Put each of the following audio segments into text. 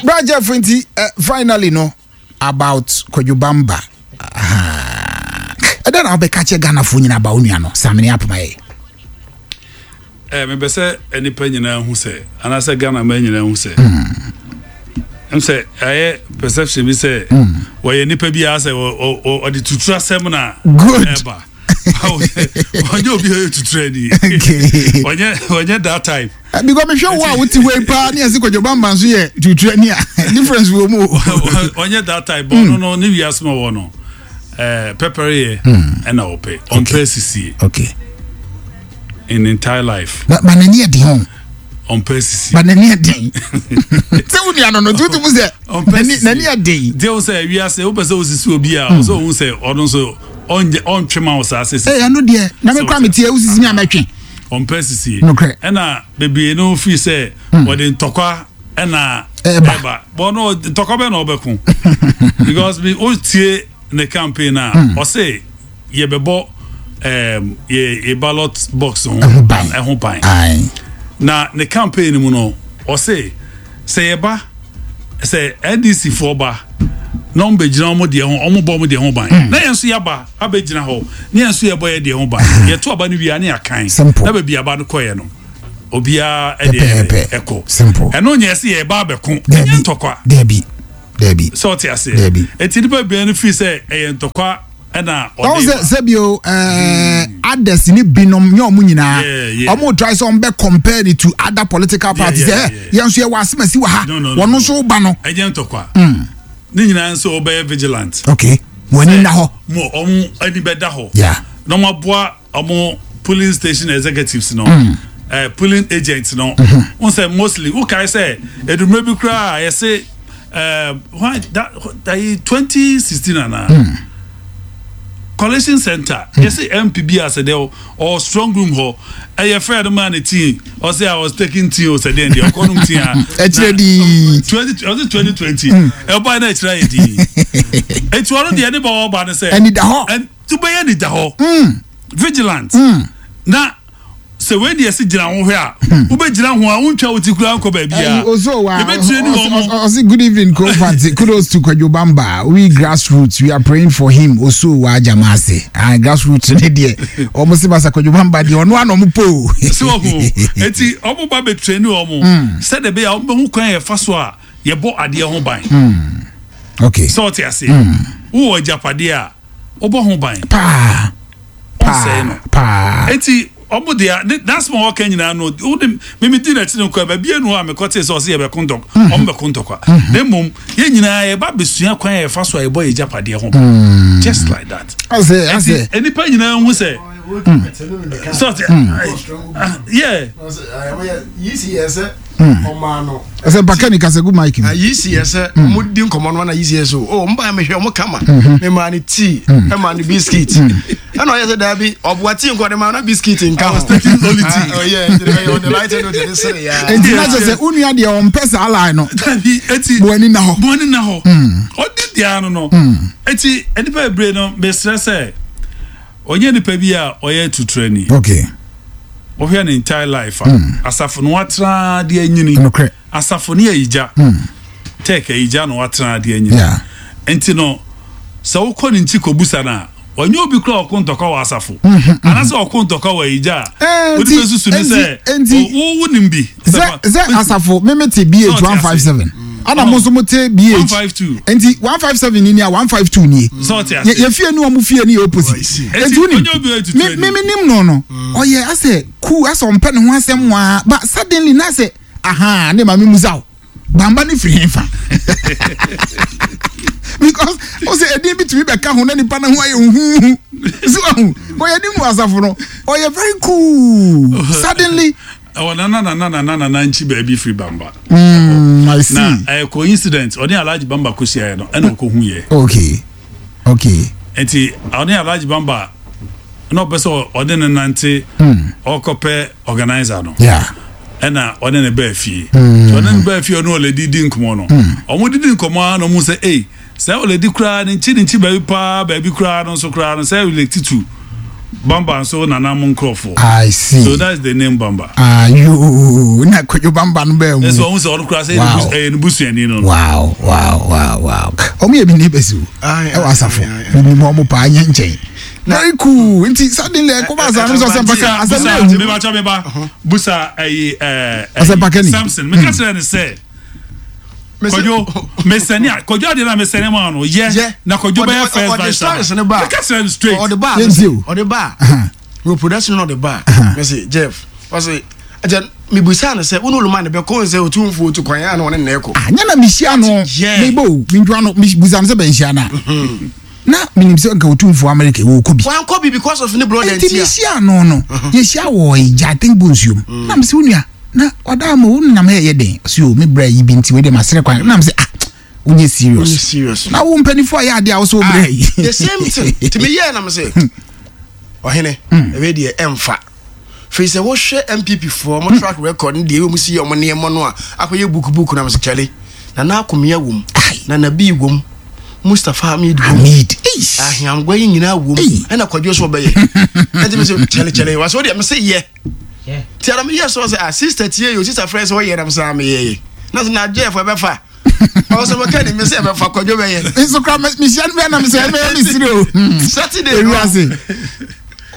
Bra Jeff nti finally no about Kwadwo Bamba. Ɛdɛn na wobɛka kyerɛ Ghanafoɔ nyinaa ba wo nua no Samini Apoma yɛ? Mepɛ sɛ nnipa nyinaa hu sɛ anaasɛ Ghana man nyinaa hu sɛ sɛ ɛyɛ perception bi sɛ wɔyɛ nipa bi a sɛ ɔde tutu asɛm na ɛba. Ɔnyɛ obi a ɔyɛ tuturani, ɔnyɛ that type. Because mehwɛ wo a wote hɔ yi paa ne yɛse Kwadwo Bamba nso yɛ tuturani a, difference wɔ mu. Ɔnyɛ that type. Bɔ ɔno no ne wiase ma wɔ no pɛpɛrɛ yɛ ɛna ɔpɛ ɔmpɛ sisie in entire life. Ba n'ani yɛ den o. Ɔmpɛ sisie. Ba n'ani yɛ den. Sɛ wo nua no no tutu mu sɛ n'ani yɛ den. Deɛ o sɛ wiase wopɛ sɛ osisi obi a ɔsɛ ohun sɛ ɔno nso ɔnyɛ ɔntwe ma wo saa sisi. Ee, ɛno deɛ na me kura mi tie osisi mi a mɛtwe. Ɔmpɛ sisie. Nokorɛ. Ɛna bebree no firi sɛ wɔde ntɔkwa ɛna ɛba. Bɔn no ntɔkwa bɛ na ɔbɛko because mi o tie ne campaign a ɔse yɛbɛbɔ yɛ yɛ ballot box ho ɛho ban. Na ne campaign mu no ɔse sɛ yɛba sɛ NDC foɔ ba na wɔn bɛgyina wɔn deɛ ho, wɔn bɔ wɔn deɛ ho ban, na yɛn nso yɛaba abɛgyina hɔ na yɛn nso yɛbɔ yɛ deɛ ho ban. Yɛto aba no wie a ne yɛakan na baabi aba no kɔɛ no obiara ɛdeɛ ɛkɔ. Ɛno nyɛ sɛ yɛba abɛko, ɛnyɛ ntɔkwa. Dabi, dabi. Sɛ ɔte aseɛ. Dabi. Eti nipa bebree no firi sɛ ɛyɛ ntɔkwa ɛna ɔde ba. Sɛ sɛbi o, others ni binom nyɛ ɔmo nyinaa ɔmo try sɛ ɔmo bɛ compare it to other political parties sɛ yɛn nso yɛ wɔ asemasi wɔ ha, wɔn nso ba no. Ɛnyɛ ntɔkwa. Ne nyinaa nso ɔbɛyɛ vigilant. Okay, wɔn ani na hɔ. Mo ɔmo ani bɛda hɔ. Na ɔmo aboa ɔmo polling station executives no. Polling agents no. N sɛ mostly wokae sɛ edumire bi koraa yɛse why that 2016 ana collation center yɛse MP bi asɛ dɛ ɔ strong room hɔ ɛyɛ fɛ no maa ne tea, ɔsɛ I was taking tea o, sɛ deɛ deɛ ɔkɔ nom tea a ɛkyerɛ dii 20 ɔsɛ 2020 ɛbɔ na ɛkyerɛ yɛ dii. Eti ɔno deɛ ne ba ɔba no sɛ ɛni da hɔ ɛn bɛyɛ ni da hɔ, vigilant, na sɛ wei deɛ si gyina ho hwɛ a, wobɛgyina ho a wontwa wo ti koraa nkɔ baabi a yɛbɛtire ne wɔn mo. Ɔse good evening Kofati, kudos to Kwadwo Bamba, we grassroots, we are praying for him. Oso wa Jamase. Ah, grassroots ne deɛ ɔmo se basa Kwadwo Bamba deɛ ɔno ano ɔmo po. Sɛ ɔho eti ɔmo ba bɛtire ne wɔn sɛdeɛ ɛbɛyɛ a ɔmo bɛho kwan yɛfa so a yɛbɔ adeɛ ho ban. Sɛ ɔte aseɛ, wowɔ agyapadeɛ a wobɔ ho ban paa. Ɔnsɛe no paa. Eti ɔmo deɛ ne n'asɛm a ɔka nyinaa no, wode mimi di n'akyi no kɔ baabi enu a mekɔte sɛ ɔsɛ yɛbɛko ntɔk ɔmo bɛko ntɔkwa, na mmom yɛn nyinaa yɛba abɛsua kwan a yɛfa so a yɛbɔ yɛ agyapadeɛ ho ban, just like that. Ɔsɛ asɛ eti nipa nyinaa hu sɛ sɛ ɔte yeah. Ɛsɛ mpaka ni kasa gu mic mu. Yi yɛ sɛ ɔmo di nkɔmɔ no na yi si yɛ so o ɔmo ba mehwɛ ɔmo kama me maa ne tea, ɛmaa ne biscuit, ɛna ɔyɛ sɛ daabi ɔboa tea nkɔ de maa na biscuit nka ho. Only tea. Ɔyɛ ɛyɛ ɔde light no de ne sere ya. Enti na kyerɛ sɛ wo nua deɛ ɔmpɛ saa line no. Dabi, eti Mo ani na hɔ. Mo ani na hɔ. Ɔdi deɛ no, eti nipa bebree no mesrɛ sɛ ɔnyɛ nipa bi a ɔyɛ tuturani. Wohwɛ ne entire life a, asafo no watena de anyini. Asafo ne ayigya tech ayigya na watena de anyini. Nti no sɛ wokɔ ne nkyi kɔbusa no a, ɔnyɛ obi kora ɔko ntɔkwa wɔ asafo anaasɛ ɔko ntɔkwa wɔ ayigya a wode bɛsusu ne sɛ wo nim bi. Sɛ asafo meme te BH 157 ana mo nso mo te BH 152. Nti 157 ni a 152 nie. Sɛ ɔte ase. Yɛ fie ni ɔmo fie ni yɛ opposite. Nti wonim ɔnyɛ obi a ɔyɛ me me nim no no ɔyɛ asɛ cool, asɛ ɔmpɛ ne ho asɛm waa, but suddenly na asɛ aha ne maame musa o Bamba ne firi hefa? Because o sɛ ɛdin bi tumi bɛka ho na nipa no ho ayɛ huhuhu so ahu ɔyɛ nim no asafo no ɔyɛ very cool, suddenly. Ɛwɔ nana nana nana nana nkyi baabi firi Bamba. I see. Na ɛyɛ coincidence ɔne Alhaji Bamba kɔhyiaeɛ no ɛna ɔkɔhu yɛ. Nti ɔne Alhaji Bamba na ɔpɛ sɛ ɔde ne nante ɔkɔpɛ organizer no. Ɛna ɔne ne baa fie. Nti ɔne ne baa fie, ɔne ɔlɛdi di nkɔmɔ no. Ɔmo didi nkɔmɔ a na ɔmo sɛ ei sɛ ɔlɛdi koraa ne nkyi baabi paa baabi koraa no nso koraa no sɛ relate to. Bamba nso nana mo nkurɔfoɔ. I see. So that's the name Bamba. Ayoo na Kwadwo Bamba no bɛɛ mu. Ɛsɛ ɔmo sɛ ɔno kura sɛ ɛyɛ ne busuani no. Wow. Ɔmo yɛ mi neighbors o. Ɛwɔ asafo. Mi ni mu ɔmo paa nyɛ nkyɛn. Very cool. Nti suddenly ɛkɔ ba asa no sɛ ɔsɛmpa ka asɛm na ehu. Meba kyɛ meba busa ɛyi ɛɛ. Ɔsɛmpa kani. Samson meka kyerɛ ne sɛ. Kwadwo mesɛne a Kwadwo adeɛ na mesɛne ma no yɛ na Kwadwo bɛyɛ first vice chairman meka kyerɛ no straight. Ɔde ba ɔde ba wɔ production na ɔde ba mese Jeff ɔse ɛkyɛ mebusa no sɛ wo ne oluma ne bɛkɔ sɛ ɔtumfoɔ otu kwan a na ɔne ne kɔ. Nyɛ na mehyia no mebɔ o mentwa no mebusa no sɛ bɛnhyia no a na menim sɛ nka ɔtumfoɔ America wɔkɔ bi. Wankɔ bi because of ne brother nti mehyia no no yɛhyia wɔ gya I think bonsuom na mesɛ wo nua na ɔda ama wo nam ha ɛyɛ den ɔsi o me bra yi bi nti wei deɛ masrɛ kwan nam sɛ ah wonyɛ serious serious na wo mpanimfoɔ ayɛ adeɛ a wosɛ wo bra yi the same thing nti meyɛɛ nam sɛ ɔhene ɛwei deɛ ɛmfa firi sɛ wohwɛ MPP foɔ mo track record ne deɛ ɛwɔ mu si yɛ ɔmo nneɛma no a akɔyɛ buku buku nam sɛ kyɛle Nana Akomea wom Nana Bii wom Mustapha Hamid wom Aheangwa yi nyinaa wom ɛna Kwadwo so ɔbɛyɛ ɛnti me sɛ kyɛle kyɛle wɔ sɛ wodeɛ me sɛ yɛ ti ara meyɛ sɛ sɛ ah sister tie yo sister frɛ sɛ ɔyɛ nam sɛ meyɛ yɛ na sɛ na Jeff ɛbɛfa ɔwɔ sɛ mɛka ne me sɛ ɛbɛfa Kwadwo bɛyɛ nso kora mehyia no bɛɛ nam sɛ ɛbɛyɛ me sere o Saturday no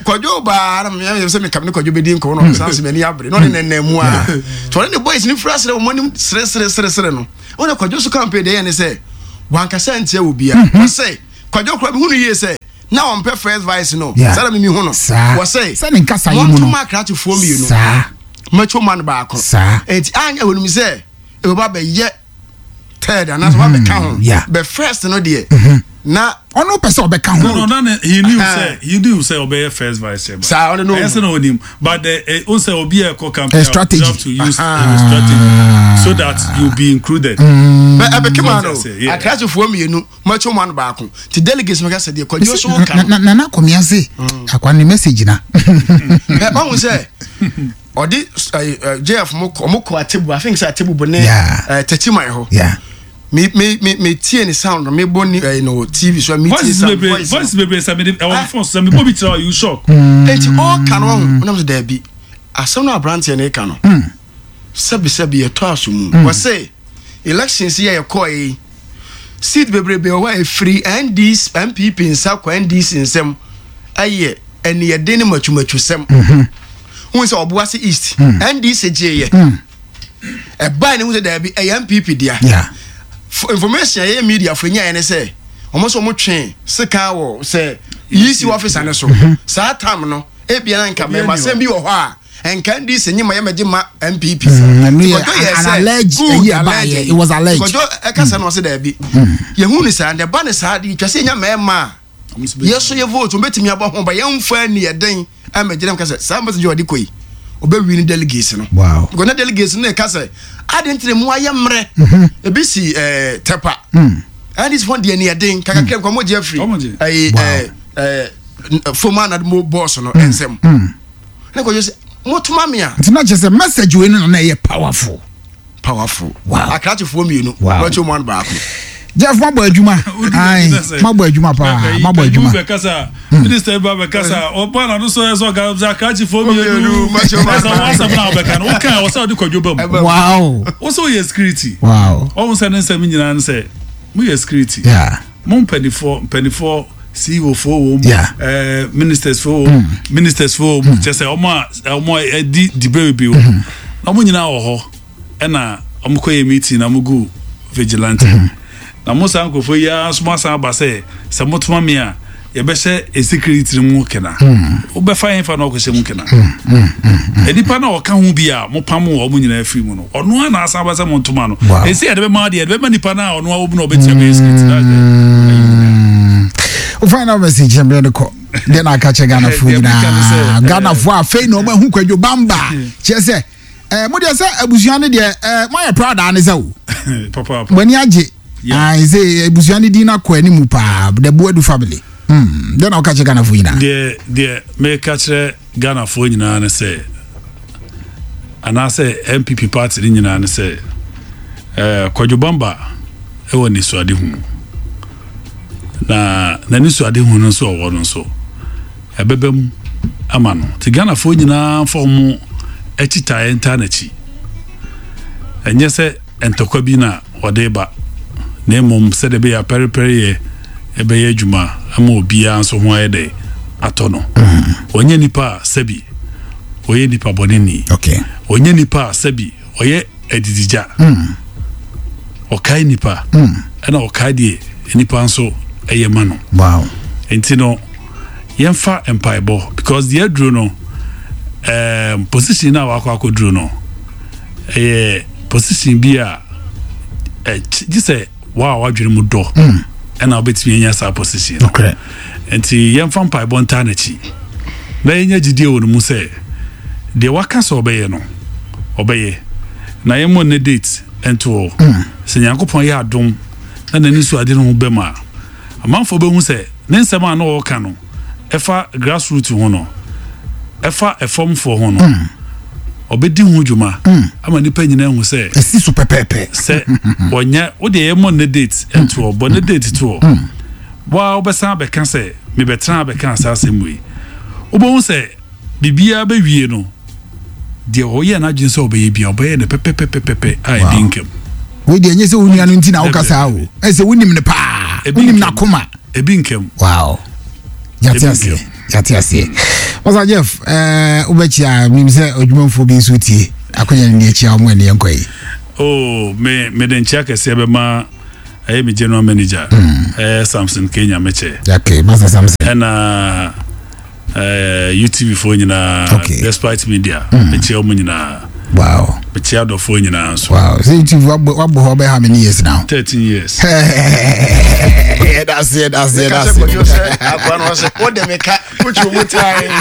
Kwadwo baa na meyɛ sɛ mekam ne Kwadwo bɛdi nkɔmmɔ na ɔsan sɛ m'ani abere na ɔne nɛnɛ mu a nti ɔne ne boys no firi asere wɔn anim sere sere sere sere no ɔne Kwadwo so campaign deɛ yɛ ne sɛ wankasa ntia wɔ bia ɔsɛ Kwadwo kora mehu no yie sɛ na ɔmpɛ first vice no saa na mimi hu no wɔsɛ montoma akrakyefoɔ mmienu macho man baako enti anyɛ wɔnim sɛ ɛbɛba bɛyɛ third anaasɛ mm-hmm. wabɛka ho bɛ first no deɛ mm-hmm. na ɔno pɛ sɛ ɔbɛka ho. no no na he knew sɛ he knew sɛ ɔbɛyɛ first vice chairman. saa ɔno no ɛyɛ sɛ na ɔnim but the eh, o sɛ obi a ɛkɔ campaign strategy you have to use uh, strategy so that you be included. Bɛ ɛbɛ kema no akrasifoɔ mmienu macho man baako ti delegates no ka sɛ deɛ kwadwo so ka no. Nana Akomea se akwa ne message na. Ɛ ɔhu sɛ ɔde JF mo kɔ ɔmo kɔ Atebu I think sɛ Atebu bo ne Techiman hɔ. Me me me me tie ne sound me bɔ ni ɛyi no TV so me tie sound voice. Voice bebree sɛ me de ɛwɔ phone so sɛ me bɔ bi kyerɛ you shock. Eti ɔka no ɔho ɔnam sɛ daabi asɛm no aberanteɛ no ka no. Sɛbi sɛbi yɛtɔ aso mu. Wɔse elections yi a yɛkɔɔ yi seat bebrebe wɔ hɔ a ɛfiri NDC NPP nsa kɔ NDC nsam ɛyɛ ɛniyɛden ne matwumatwusɛm. Wohu sɛ Ɔboase East NDC gyeeɛ. Ɛbae ne hu sɛ daabi ɛyɛ NPP dea. Information a yɛyɛ media fo nyaeɛ ne sɛ wɔn nso wɔn twe sekan wɔ sɛ EC officer ne so. Saa tam no ebia na nka mɛmasɛm bi wɔ hɔ a Nka NDC nye ma yɛ mɛgye ma NPP. Mm, ɛno yɛ an alleged ɛyi ɛba yɛ it was alleged. Kɔjɔ ɛkasa na ɔsɛ dɛbi. Yɛhu ne saa na ɛba ne saa de twa sɛ nya mɛɛma a yɛ so yɛ vote wɔbɛtumi abɔ ho ba yɛn nfa ni ɛden ɛmɛgye nam kasa saa message ɔde kɔ yi ɔbɛ win delegates no. Wow. Because na delegates no ɛka sɛ adi ntene mu ayɛ mmerɛ. Mm-hmm. Ebi si ɛɛ tɛpa. NDC fɔ deɛ ni ɛden kakakra nkɔmɔ gye afiri ɛyi ɛɛ ɛɛ foma na mo bɔɔso no ɛnsɛm. Ne kɔjɔ sɛ motoma me a. Nti na kyerɛ sɛ message wei no na ɛyɛ powerful. Powerful. Wow. Akrakyefoɔ mmienu. Wow. Wɔkyɛ mu ano baako. Jeff mabɔ adwuma. Ayi mabɔ adwuma paa mabɔ adwuma. Bɛkasa minister ba bɛkasa ɔba na no so ɛsɛ ɔga sɛ akrakyefoɔ mmienu. Ɛsɛ wɔn asɛm na ɔbɛka no wokan ɔsɛ ɔde kɔdwo ba mu. Wow. Wosɛ ɔyɛ security. Wow. Ɔmo sɛ ne nsɛm nyinaa no sɛ mo yɛ security. Yeah. Mo mpanifoɔ mpanifoɔ CEO foɔ wɔ mu ɛɛ eh, ministers foɔ wɔ mu mm. ministers foɔ wɔ mu mm. kyɛ sɛ wɔn a wɔn a ɛdi dibere bebree wɔ mu mm-hmm. na wɔn nyinaa wɔ hɔ ɛna wɔn kɔ yɛ meeting na wɔn gu vigilante mm-hmm. na mo saa nkurɔfoɔ yi ara nso mo asan aba sɛ sɛ mo toma mi a yɛbɛhyɛ security mu kena mm. wobɛfa yɛn fa na ɔkɔhyɛ mu kena nnipa na ɔka ho bi a mopam wɔ ɔmo nyinaa firi mu no ɔno a na asan ba sɛ mo ntoma no ɛsɛ yɛde bɛma deɛ yɛde bɛma nipa no a ɔno a wɔmu na ɔbɛtua bɛyɛ security that's the final message yɛn bɛyɛ de kɔ deɛ na aka kyɛ ghanafoɔ nyinaa ghanafoɔ afei na ɔmo ahu kwadwo bamba kyerɛ sɛ ɛɛ mo deɛ sɛ abusua no deɛ ɛɛ mo ayɛ proud ane sɛ o mo ani agye ayi sɛ abusua no din akɔ anim paa the Boadu family hmm deɛ na ɔka kyerɛ ghanafoɔ nyinaa. Deɛ deɛ meka kyerɛ ghanafoɔ nyinaa ne sɛ anaasɛ NPP party no nyinaa ne sɛ ɛɛ Kwadwo Bamba ɛwɔ nisuadehu na n'anisuadehu no nso ɔwɔ no nso ɛbɛbɛ mu. ama no. Nti Ghanafoɔ nyinaa mfa wɔn akyitaeɛ ntaa n'akyi. Ɛnyɛ sɛ ntɔkwa bi na ɔde reba, na mmom sɛdeɛ ɛbɛyɛ a pɛrepɛreyɛ bɛyɛ adwuma ama obiara nso ho ayɛ dɛ atɔ no. Ɔnyɛ nipa a sɛbi ɔyɛ nipa bɔneni. Ɔnyɛ nipa a sɛbi ɔyɛ adidigya. Ɔkae nipa ɛna ɔkae deɛ nipa nso ɛyɛ ma no. Wow. Nti no yɛmfa mpaebɔ because deɛ aduro no um, position no a wakɔ akɔduro no ɛyɛ position bi a gye sɛ wa a wadwene mu dɔ ɛna wobɛtumi anya saa position no. Nti yɛmfa mpaebɔ ntaa n'akyi na yɛnya gyidie wɔ no mu sɛ deɛ waka sɛ ɔbɛyɛ no ɔbɛyɛ, na yɛmmɔ ne date nto hɔ. Sɛ Nyankopɔn yɛ adom na n'ani so ade no ho bɛm a, amanfoɔ bɛhu sɛ ne nsɛm a na ɔreka no ɛfa grassroot ho no, ɛfa ɛfamfoɔ ho no, ɔbɛdi ho dwuma ama nnipa nyinaa ahu sɛ ɛsi so pɛpɛɛpɛ. Sɛ ɔnyɛ wo deɛ yɛmmɔ ne date nto hɔ, bɔ ne date to hɔ. Woa wobɛsan abɛka sɛ mebɛtena abɛka saa asɛm wei. Wobɛhu sɛ biribiara bɛwie no, deɛ ɔyɛ n'adwene sɛ ɔbɛyɛ bia ɔbɛyɛ no pɛpɛpɛpɛpɛ a ɛdi nkam. Wei deɛ ɛnyɛ sɛ wo nua no nti na woka saa o, ɛsɛ wonim no paa, wonim n'akoma. Ebi nkam. Wow, yate aseɛ, yate aseɛ. Ɔsa Jeff, ɛɛ wobɛkyia menim sɛ odwumanfoɔ bi nso tie akonya no ni akyia wɔn ɛne yɛnkɔ yi. Oh, me mede nkyia kɛseɛ bɛma ɛyɛ me general manager ɛyɛ Samson K Nyamekyɛ. Okay, Master Samson. Ɛna UTV foɔ nyinaa, okay. Despite media, mekyia wɔn nyinaa. Wow. Mekyia adɔfoɔ nyinaa nso. Wow. So UTV wabɔ hɔ bɛyɛ how many years now? 13 years. That's it, that's it, that's it. Akwa no sɛ, wode me ka, wotwi mu tie.